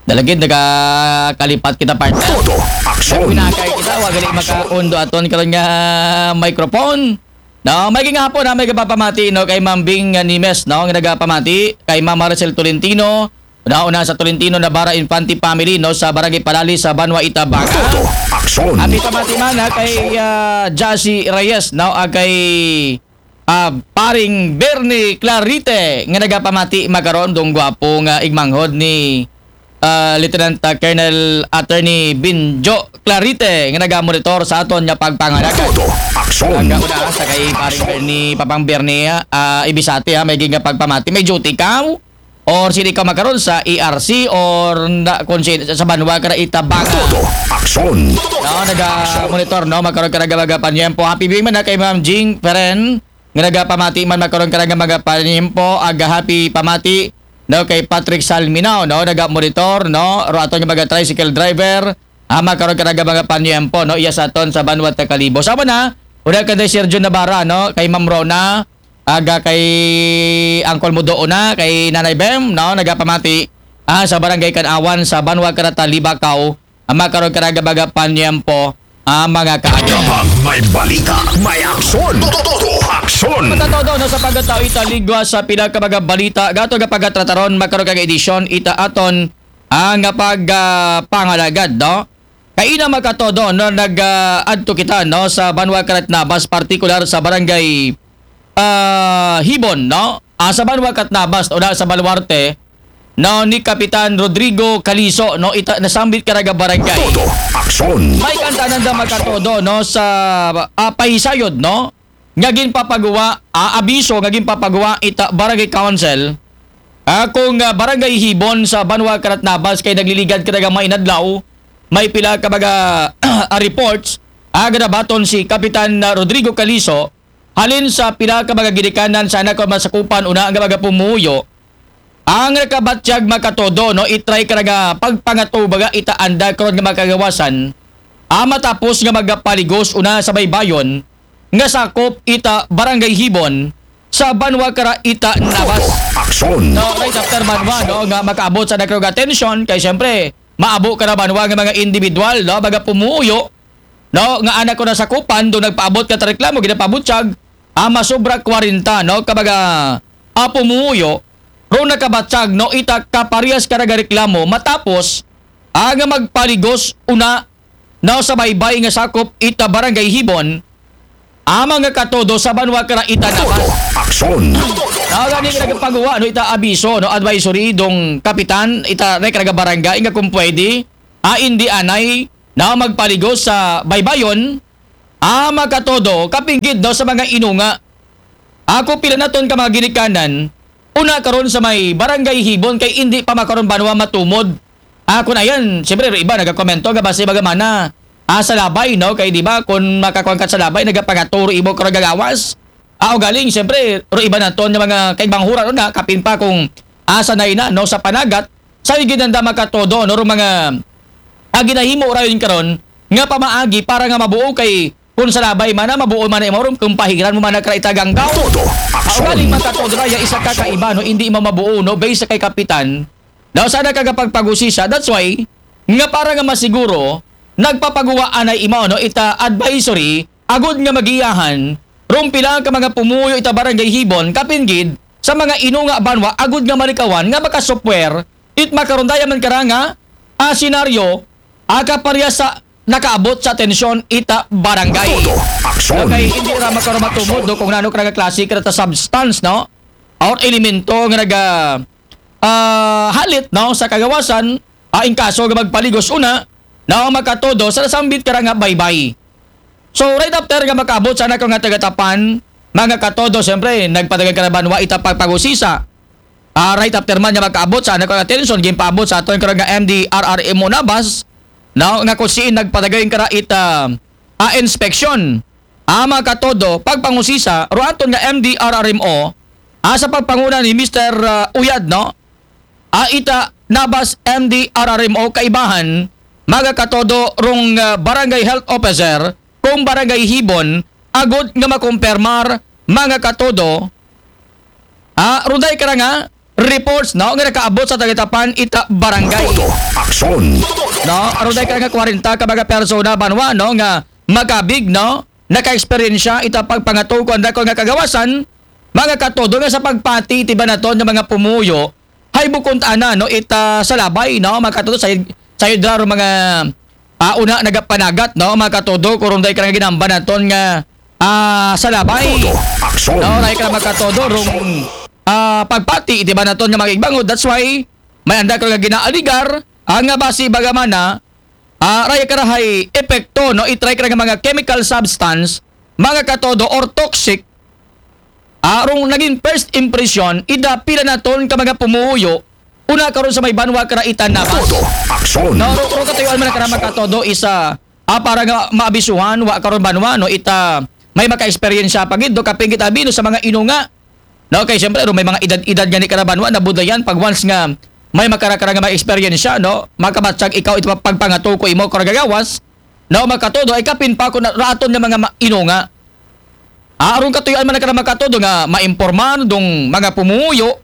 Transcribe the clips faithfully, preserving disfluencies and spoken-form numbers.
Dalagid, nagakalipat kita, partner. Todo aksyon. Pinakay kita, wa gali makaundo aton karon nga microphone. No, may gihapon na may gapapamati, no, kay Ma'am Bing, uh, Nimes, no, nga nagapamati, kay Ma'am Maricel Tolentino, no, una sa Tolentino Navarra Infante family, no, sa Barangay Palali sa Banwa Itabanga. Todo aksyon. Happy pamati man, ha, kay, uh, Jassy Reyes, no, ag kay, uh, paring Bernie Clarite nga nagapamati makaron, dong gwapo nga igmanghod ni, uh, Lieutenant, uh, Colonel Attorney Binjo Clarite nga nagamonitor sa aton nga pagpangalagad. Todo aksyon. Ang kauna sa kay paring Bernie, Papang Bernie, uh, ibisati, ha, may ginga pagpamati. May duty ka? Or sino ka makaron sa E R C or na, kung si, sa Banwa ka na Itabanga? Todo aksyon. No, naga-monitor, no, makaron ka na mga panyempo. Happy viewing man na kay Ma'am Jing Peren, nga nagapamati man makaron ka na mga panyempo. Aga happy pamati, no, kay Patrick Salminao, no, naga-monitor, no, ro aton nga mga tricycle driver. Ah, makaron ka na mga panyempo, no, iya sa aton sa Banwa ta Kalibo. Sama na, una ka kay Sergio Navarra, no, kay Ma'am Rona, aga kay Uncle Mudo una, kay Nanay Bem, no, nagapamati, ah, sa Barangay Kanawan, sa Banwa Karata, Libacao, ang makaron ka na mga panyempo, ah, mga kaayo. Kapag may balita, may aksyon. Todo, todo, aksyon. Matatodo, no, sa pagkatao ita ligwa sa pila ka mga balita, gato nga pagkatrataron, makaron ka nga edisyon, ita aton, ah, nga pag, ah, pangalagad, no? Kaina makatodo, no, nag, ah, adto kita, no, sa Banwa Karat Nabas, partikular sa Barangay, ah, Hibon, no? Ah, sa Banwa Karat Nabas, o na sa Baluarte, no, ni Kapitan Rodrigo Caliso, no, ita, nasambit ka na nga barangay. Todo aksyon. May kantanan da makatodo, no, sa, ah, pahisayod, no, nga ginpapaguwa, ah, abiso nga ginpapaguwa ita Barangay Council, ah, kung, ah, Barangay Hibon sa Banwa Karat Nabas kay nagliligad ka na nga mga inadlaw, may pila ka mga, ah, reports, ah, ganabaton si Kapitan, ah, Rodrigo Caliso, halin sa pila ka mga ginikanan sa anak o masakupan una nga mga pumuyo, ang nakabatyag makatodo, no, itry ka na nga pagpangatubaga ita anda karon nga makagawasan, ah, matapos nga magapaligos una sa baybayon nga sakop ita Barangay Hibon sa Banwa Kara ita Nabas. Aksyon. No, right after Banwa, no, nga makaabot sa nagkaroon atensyon kay siyempre maabo ka na Banwa nga mga individual, no, mga pumuyo, no, nga anak ko na sakupan, do nagpaabot ka ta reklamo, ginapabutyag, ah, masobra kwarenta, no, ka mga, ah, pumuyo, ro nakabatyag, no, ita kaparehas ka nagareklamo, matapos, ah, nga magpaligos una, no, sa baybay nga sakop ita Barangay Hibon, ah, mga katodo sa Banwa Kara ita Nabas. Aksyon. No, gani nga nagpaguwa, no, ita abiso, no, advisory dong kapitan, ita rek nga barangay nga kung pwede, ah, indi anay, na magpaligos sa baybayon, ah, makatodo, kapinggid, no, sa mga inunga. Ako pila naton ka mga ginikanan, una karon sa may Barangay Hibon kay indi pa makaron Banwa matumod. Ah, kun ayan, siyempre, ro iba nagakomento nga base baga mana, ah, sa labay, no? Kay di ba, kun makakuan ka sa labay, nagapangaturo imo karon gagawas. Ah, o galing, siyempre, ro iba naton nga mga kaigbanghura ro na, kapin pa kung asa na ina, no, sa panagat, sa higit nanda makatodo, no, ro mga, ah, ginahimo rayon karon nga pamaagi para nga mabuo kay kun sa labay man na, mabuo man na imo ron, kung pahiran mo man na kara itaganggaw. Todo aksyon. Galing makatodo ra, ya isa ka kaiba, no, hindi mo mabuo, no, based sa kay kapitan. Daw sana ka kapagpag-usisa, that's why, nga para nga masiguro, nagpapaguwa anay imo, no, ita advisory, agud nga magiyahan, rumpila ka mga pumuyo ita barangay Hibon, kapinggid, sa mga inunga Banwa, agud nga malikawan, nga makasupwer, it makarundaya man karanga, a senaryo, aga pareha sa nakaabot sa atensyon ita barangay. Todo aksyon. Okay, hindi ra makaroon matumod, no, kung nano ka nga klase ka ta substance, no? Or elemento nga naga, ah, halit, no, sa kagawasan, ah, in kaso nga magpaligos una, no, makatodo sa nasambit ka nga baybay. So, right after nga makaabot sa nako nga tagatapan, mga katodo, siyempre, nagpadagan ka na Banwa ita pagpagusisa. Ah, right after man nga makaabot sa nako atensyon, gimpaabot sa aton karon nga M D R R M O Nabas, no, nga kung siin nagpadagay ka ra ita, ah, inspeksyon. Ah, mga katodo, pagpangusisa, ro aton nga M D R R M O, ah, sa pagpanguna ni Mister, ah, Uyad, no? Ah, ita Nabas M D R R M O kaibahan, mga katodo rong, ah, barangay health officer, kung barangay Hibon, agud nga makumpirmar, mga katodo, ah, ruday ka na nga, reports, no, nga nakaabot sa Tagatapan ita barangay. Todo aksyon. No, aron dahil ka nga kwarenta ka mga persona banwa, no, nga makabig, no, naka-eksperyensya ita pagpangato ko ang dako nga kagawasan, mga katodo nga sa pagpati iti banaton nga mga pumuyo, hay bukon ta ana, no, ita sa labay, no, mga katodo, sa, sa idra mga ah, una nagapanagat, no, mga katodo, kurong dahil ka nga ginamba naton nga ah, sa labay. Todo aksyon. No, dahil ka mga katodo, rong ah, pagpati, iti banaton nga mga igbangod. That's why, may anda ka nga ginaaligar, ah, nga basi bagamana, ah, raya karahay epekto, no, itry ka nga mga chemical substance, mga katodo, or toxic, ah, rong naging first impression, ida pila naton ka mga pumuyo, una karon sa may banwa kara itan na. Todo aksyon. No, ro, ro katuyuan man kara mga katodo isa, ah, para nga maabisuhan, wa karon banwa, no, ita, may maka-eksperyensya pa gid, no, kapingit abi, no, sa mga inunga. No, kay siyempre, no, may mga edad-edad nga ni kara banwa, nabudayan, pag once nga, may makarakara nga may eksperyensya, no, makabatsag ikaw ito pagpangato ko imo karagagawas, no, makatodo, ay kapin pa ko na, raton nga mga ma- inunga. Ah, aron katuyuan man na ka na makatodo nga maimporman dong mga pumuyo,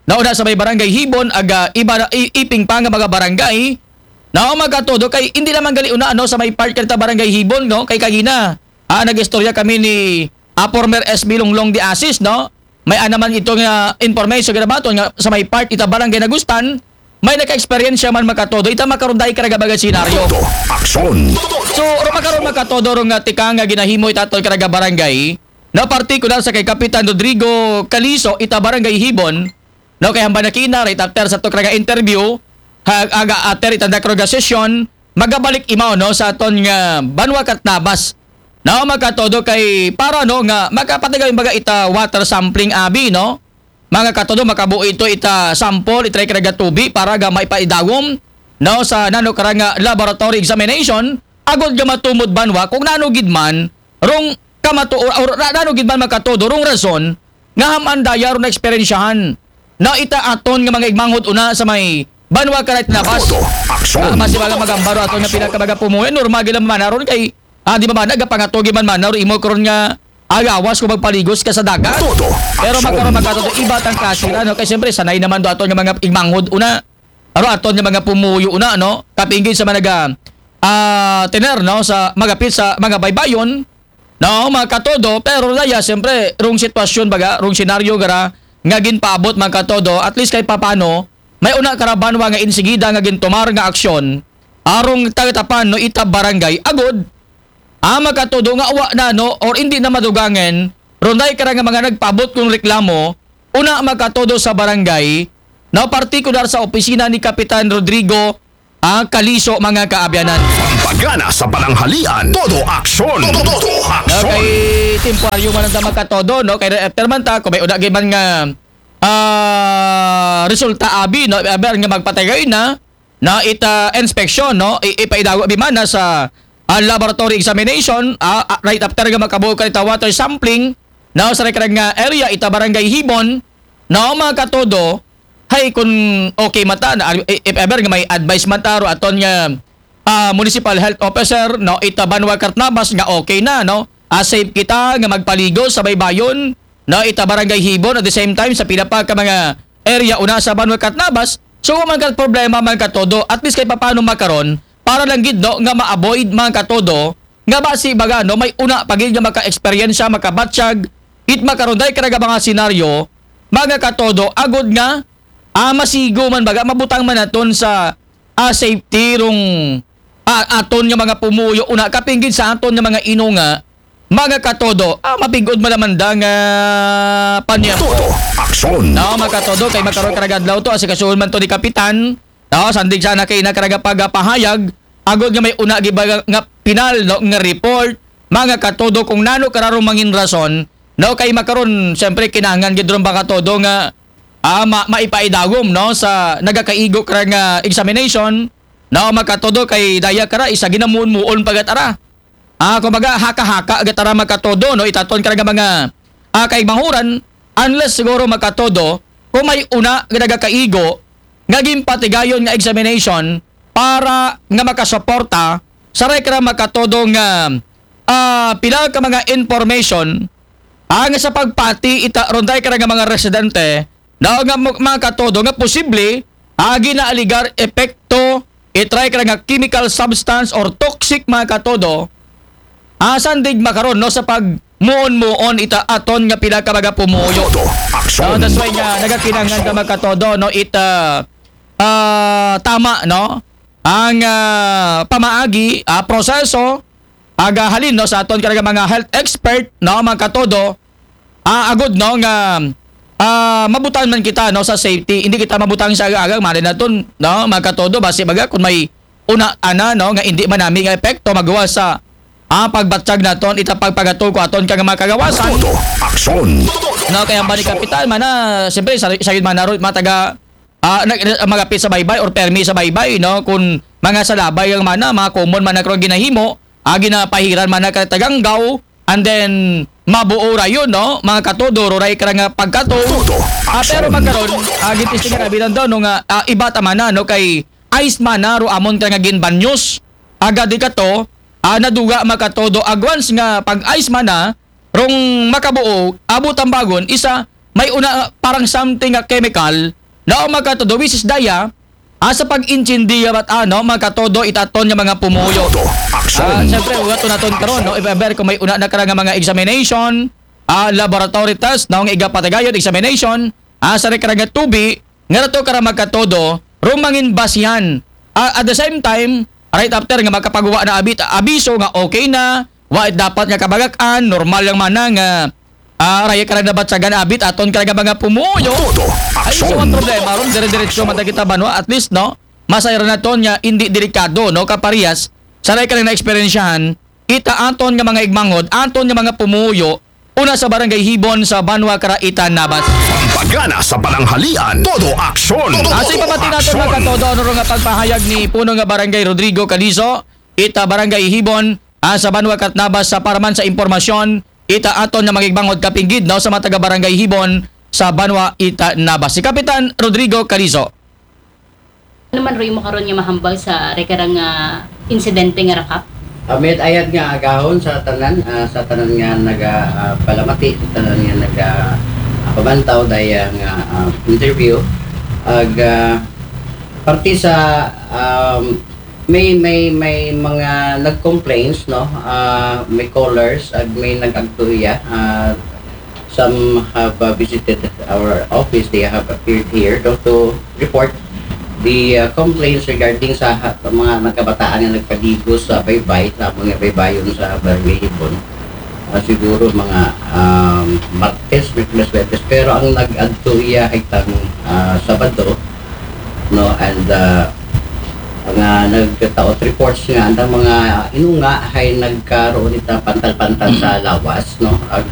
nauna sa may barangay Hibon, aga iba na, i- iping pa nga mga barangay, na makatodo kay hindi naman gali una, no, sa may part kanita barangay Hibon, no, kay kagina, ah, nag-istorya kami ni ah, former S B Longlong de Asis, no? May anaman ito nga information nga nabaton nga sa may part ita barangay Nagustan, may naka-eksperyensya man makatodo, ita makaron dahil karaga baga senaryo. Todo aksyon. So, ro makaron makatodo ro nga tika nga ginahimo ita tol karaga barangay, na partikular sa kay Kapitan Rodrigo Caliso, ita barangay Hibon, no, kay hamba na kina, right after sa to karaga interview, ha, aga ater ita dakro ga sesyon, magabalik imaw, no, sa aton nga banwa kat nabas. No, makatodo kay para, no, nga makapatigaw yung baga ita water sampling abi, no? Mga katodo, makabuo ito ita sample, itry karaga tubi para ga maipaidawom, no, sa nano kara nga laboratory examination, agod ga matumod banwa kung nano gid man, rong kamato, or, or ra- nano gid man makatodo, rong rason, nga haman daya ron na eksperyensyahan. Na ita aton nga mga igmanghod una sa may banwa karit nabas. Todo aksyon. Ah, mas ibaga magambaro aton nga pinakabaga pumuyan, normal gila man aron kay Ah, di ba man, nagapangatugi man man, naro imo karon nga agawas ko magpaligos ka sa dagat. Todo. Pero aksyon. Magkaroon magkatuto, iba tang kasira, no? Kay siyempre, sanay naman do aton nga mga igmanghod una. Aro aton nga mga pumuyo una, no? Kapingin sa mga naga, ah, tener, no? Sa magapit sa mga baybayon, no? Mga katodo, pero daya, siyempre, rong sitwasyon baga, rong senaryo gara, nga ginpaabot mga katodo, at least kay papano, may una karabanwa nga insigida nga gintumar nga aksyon, arong tagatapan no ita barangay agod, ah, makatudo nga wa na, no, or hindi na madugangen, runday kara nga mga nagpaabot kung reklamo, una makatudo sa barangay, no, partikular sa opisina ni Kapitan Rodrigo, ah, Kaliso, mga kaabyanan. Pampagana sa pananghalian, todo aksyon. Todo, todo aksyon. Okay, temporaryo man ang makatodo, no, kay after man ta, kung may una gid man nga, ah, resulta abi, no, aber nga magpatagay na, na ita inspeksyon, no? I- ipaidago bimana sa ah, laboratory examination, ah, ah, right after nga makabuo ka ita water sampling, no, sa rekarang nga area, ita barangay Hibon, no, mga katodo, hay kung okay mata, na, if ever nga may advice mata, ro aton nga ah, municipal health officer, no, ita banwa Cartnabas nga okay na, no, ah, safe kita nga magpaligo sa baybayon, no, ita barangay Hibon, at the same time sa pila pa ka mga area una sa banwa Cartnabas. So man ka problema man katodo, at least kay papano makaron para lang gid, no, nga ma-avoid man katodo nga basi baga, no, may una pagid nga maka-eksperyensya, makabatsyag it makaron dahil karaga mga senaryo, mga katodo, agod nga ah, masigo man baga, mabutang man naton sa ah, safety rong ah, aton nga mga pumuyo una kapinggid sa aton nga mga inunga, mga katodo, ah, mapigod man naman da nga panyap. Todo aksyon. No, mga katodo, kay magkaroon karagadlaw to, asikasuhon man to ni Kapitan. No, sandig sana kay ina karaga pagapahayag, agod nga may una giba nga pinal, no, nga report, mga katodo, kung nano kararong mangin rason, no, kay makaron, siyempre, kinahanglan gid ron ba katodo nga ah, ma- maipaidawom, no, sa nagakaigo kara nga examination, no, makatodo kay daya kara isa ginamuon-muon pagatara. Ah, kumbaga, haka-haka gatara makatodo, no, itaton kara nga mga ah, kaigmahuran, unless siguro makatodo kung may una nga nagakaigo nga ginpatigayon nga examination para nga makasuporta sa rekra makatodo nga ah, pila ka mga information ang sa pagpati ita ronday kara nga mga residente, no, nga mo- mga katodo, nga posible, agi na aligar epekto, itry ka nga chemical substance or toxic, mga katodo, asan dig makaron, no, sa pagmuon-muon ita aton nga pila ka mga pumuyo. Todo aksyon. No, that's why nga nagakinahanglan ta, mga katodo, no, ita ah, tama, no, ang ah, pamaagi, ah, proseso, aga halin, no, sa aton ka mga health expert, no, mga katodo, ah, agud, no, nga ah, mabutan man kita, no, sa safety, hindi kita mabutang sa aga-aga, mali naton, no, mga katodo, basi baga kung may una ana, no, nga hindi man nami nga epekto magawa sa ah, pagbatyag naton ita pagpagato ko aton ka mga kagawasan. Todo aksyon. No, kaya ba ni kapitan man na, siyempre, sa sa yun man na ron, mga taga ah, nag- magapit sa baybay or permi sa baybay, no, kung mga salabay ang mana, mga common man na karon ginahimo, ah, ginapahiran man na ka taganggaw, and then mabuo ra yun, no, mga katodo, ruray ka nga pagkato. Todo Ah, pero aksyon. Magkaron, ah, gitistingan abi daw, no, nga ah, iba ta man na, no, kay ice man na ro amon ka nga ginbanyos, agad di ka to, ah, naduga, mga katodo, agwans nga pag ice man na, rong makabuo, abot ang bagon, isa, may una, parang something nga chemical, na, mga katodo, which is daya, asa pag-intindiya bat ano, mga katodo, itaton nga mga pumuyo. Todo Ah, aksyon. siyempre, ugat naton karon, no? If ever kung may una na ka nga mga examination, ah, laboratory test, no, nga igapatagayon, examination, ah, sa ka nga tubi, nga nato ka mga katodo, rumangin basihan. Ah, at the same time, right after nga makapagawa na abit, abiso nga okay na, wa dapat nga kabagakan, normal lang man na nga ah, raya ka lang nabatsagan abit aton ka nga mga pumuyo. Todo Ay, so aksyon. Ang problema ron, dire-diretso man kita banwa, at least, no, masayra naton nga hindi delikado, no, kaparehas sa raya ka lang na eksperyensyahan, ita aton nga mga igmanghod, aton nga mga pumuyo, una sa barangay Hibon sa banwa kara ita Nabas. Pampagana sa pananghalian. Todo aksyon. Asa ipamati naton, mga katodo, ano ro nga pagpahayag ni Puno nga Barangay Rodrigo Calizo, ita Barangay Hibon, ah, sa banwa kat Nabas, sa paraman sa impormasyon, ita aton nga mga igmanghod kapinggid, no, sa mga taga Barangay Hibon sa banwa ita Nabas. Si Kapitan Rodrigo Calizo. Ano man ro imo karon nga mahambal sa rekarang nga insidente nga rakap? Ah, mayad ayat nga agahon sa tanan, ah, sa tanan nga naga ah, palamati, sa tanan nga naga ah, pamantaw daya nga ah, interview. Ag ah, parte sa um, may may may mga nag-complaints, no, ah, may callers, ag may nag-agtuya, ah, some have uh, visited our office, they have appeared here to, to report the uh, complaints regarding sa ha- mga nagkabataan nga nagpaligo sa baybay, sa mga baybayon sa Barangay Hibon. Ah, siguro mga um, Martes, Miyerkules, Huwebes. Pero ang nag-adto iya ay tang ah, Sabado, no, and uh, nga nagtaot reports nga ang mga inunga ay nagkaroon ita pantal-pantal sa lawas, no, ag